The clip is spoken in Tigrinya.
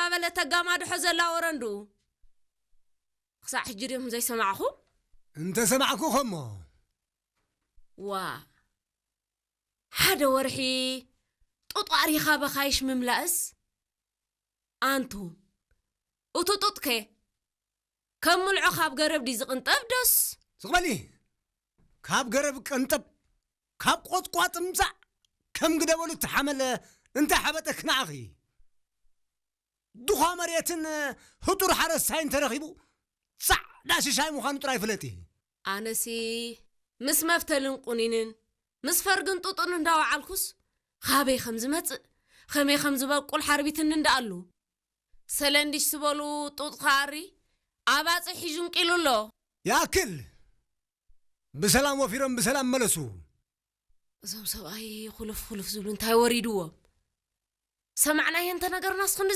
እናበለ ተጋማድሖ ዘላ ወረንዱ። ክሳዕ ሕጂ ድዮም ዘይሰማዕኹ? እንተሰማዕኩ ኸሞ። ዋ፣ ሓደ ወርሒ ጡጥ ኣሪኻ በኻይሽ ምምላእስ? ኣንቱ፣ እቱ ጡጥከ ከም ምልዖ ካብ ገረብ ድዩ ዝቕንጠብ ዶስ? ስቕ በሊ። ካብ ገረብ ቀንጠብ፣ ካብ ቆጥቋጥ ምጻእ፣ ከም ግደበሉ እተሓመለ እንታይ ሓበጠክ ንዓኺ? ድኻ መሬትን ህጡር ሓረስታይ እንተረኺቡ፣ ጻዕዳ ሽሻይ ምዃኑ ጥራይ ፍለጢ። ኣነሲ ምስ መፍተልን ቁኒንን፣ ምስ ፈርግን ጡጥን እንዳወዓልኩስ፣ ኻበይ ከም ዝመጽእ፣ ኸመይ ከም ዝበቁል ሓርቢትኒ እንዳኣሉ። ሰለንዲሽ ዝበሉ ጡጥ ኸኣሪ ኣባጽሕ ሒዙ እንቂሉ ኣሎ። ይኣክል! ብሰላም ወፊሮም ብሰላም መለሱ። እዞም ሰብኣይ ኹልፍ ኹልፍ ዝብሉ እንታይ ወሪድዎም? ሰማዕናዮ እንተ ነገርናስ ክንዲ